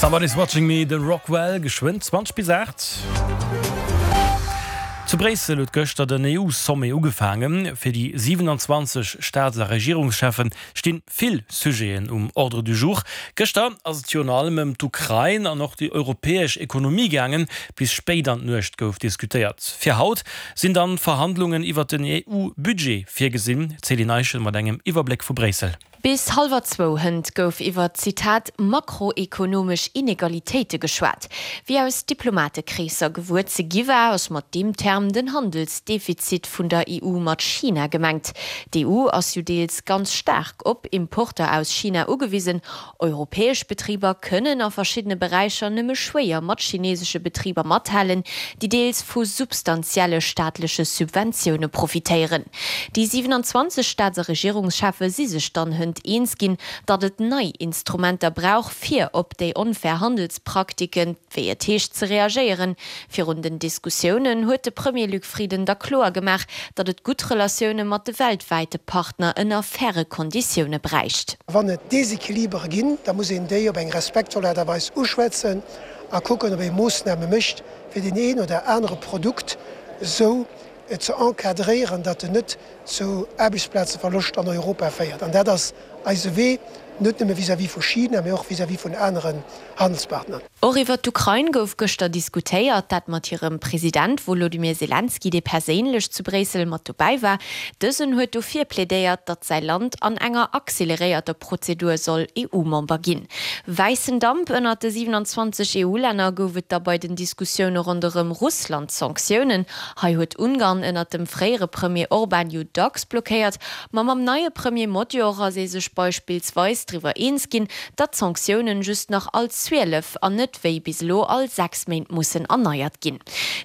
Somebody's Watching Me, de Rockwell, geschwënn 20 bis 8. Zu Bréissel huet gëschter den EU-Sommet ugefaangen. Fir déi 27 Staats a Regierungscheffen stinn vill Sujeten um Ordre du jour. Gëschter ass et virun allem ëm d'Ukrain an och déi europäesch Ekonomie gaangen. Bis spéit an d'Nuecht gouf diskutéiert. Fir haut sinn dann Verhandlungen iwwert den EU-Budget virgesinn. D'Céline Eischen mat engem Iwwerbléck vu Bréissel. Bis hallwer zwou hënt gouf iwwer, Zitat, makroekonomesch Inegalitéite geschwat. Wéi aus Diplomatekreesser gewuer ze gi war, ass mat deem Term den Handelsdefizit vun der EU mat China gemengt. D'EU ass jo deels ganz staark op Importer aus China ugewisen. Europäesch Betriber kënnen a verschiddene Beräicher nëmme schwéier mat chinesesche Betriber mathalen, déi deels vu substantielle staatleche Subventioune profitéieren. Déi 27 Staats a Regierungscheffe si sech dann hënt eens ginn, datt et nei Instrumenter brauch, fir op déi onfair Handelspraktiken, wéi et heescht, ze reagéieren. Virun den Diskussiounen huet de Premier Luc Frieden da kloer gemaach, datt et gutt Relatioune mat de weltwäite Partner ënner faire Konditioune bräicht. Wann et Desequilibere ginn, da muss een déi op eng respektvoll Aart a Weis uschwätzen a kucken, ob ee Moossname mécht, fir deen een oder anere Produkt esou ze encadréieren, datt en net zu Aarbechtsplazeverloscht an Europa féiert. An dat ass eise Wee, net nëmme vis-à-vis vu China, mee och vis-à-vis vun aneren Handelspartner. Och iwwer d'Ukrain gouf gëschter diskutéiert, dat mat hirem President Wolodymyr Selenskyj, dee perséinlech zu Bréissel mat dobäi war. Dësen huet dofir plädéiert, datt säi Land an enger acceleréierter Prozedur soll EU-Member ginn. Wäissen Damp ënnert de 27 EU-Länner gouf et da bei den Diskussioune ronderëm Russland-Sanktiounen. Hei huet Ungarn ënnert dem fréiere Premier Orban jo dacks blockéiert, ma mam neie Premier Magyar ass ee sech beispillsweis driwwer eens ginn, datt d'Sanktiounen just nach all 12 an net wéi bis elo all 6 Méint mussen erneiert ginn.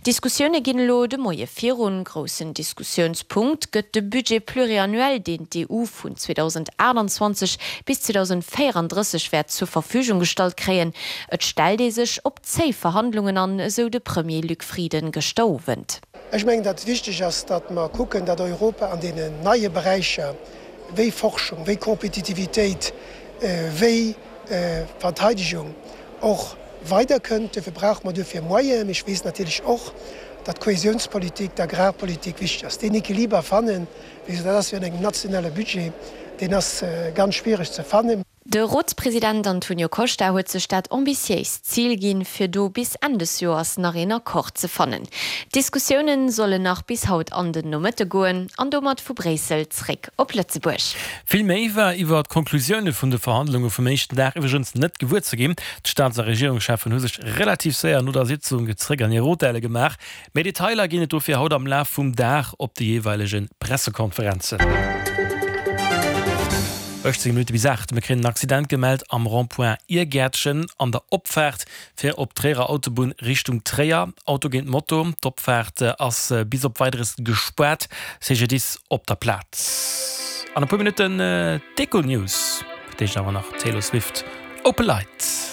D'Diskussioune ginn elo de Moie virun. Groussen Diskussiounspunkt gëtt de Budget pluriannuel, deen d'EU vun 2028 bis 2034 wäert zur Verfügung gestallt kréien. Et stellt ee sech op Zéi Verhandlungen an, esou de Premier Luc Frieden gëschter Owend. Ech mengen, datt et wichteg ass, datt mer kucken, datt Europa an deenen neie Beräicher wéi Forschung, wéi Kompetitivitéit, wéi Verteidegung och weiderkënnt. Duerfir brauche mer duerfir Moyenen. Mee ech weess natierlech och, datt d'Kohäsiounspolitik, d'Agrarpolitik wichteg ass. Deen Equiliber fannen, wéi gesot, dat ass jo an engem nationale Budget, deen ass ganz schwiereg ze fannen. De Rotspresident Antonio Costa huet sech dat ambitiéist Zil ginn, fir do bis Enn des Joers nach een Accord ze fannen. D'Diskussioune sollen nach bis haut an den Nomëtte goen an domat vu Bréissel zréck op Lëtzebuerg. Vill méi war iwwer d'Konklusioune vun de Verhandlunge vum éischten Dag iwwregens net gewuer ze ginn. D'Staats a Regierungscheffen hu sech relativ séier no der Sitzung zréck an hir Hotelle gemaach. Méi Detailer ginn et dofir haut am Laf vum Dag op de jeeweilege Pressekonferenzen. 18 Minutte bis 8, Mir kréien en Accident gemellt am Rond-point Iergäertchen an der Opfaart fir op d'Tréierer Autobunn Richtung Tréier. Auto géint Moto. D'Opfaart ass bis op Weideres gespaart. CGDIS op der Plaz. An e puer Minutten d'Econews. Fir d'éischt awer nach Taylor Swift, Open Light.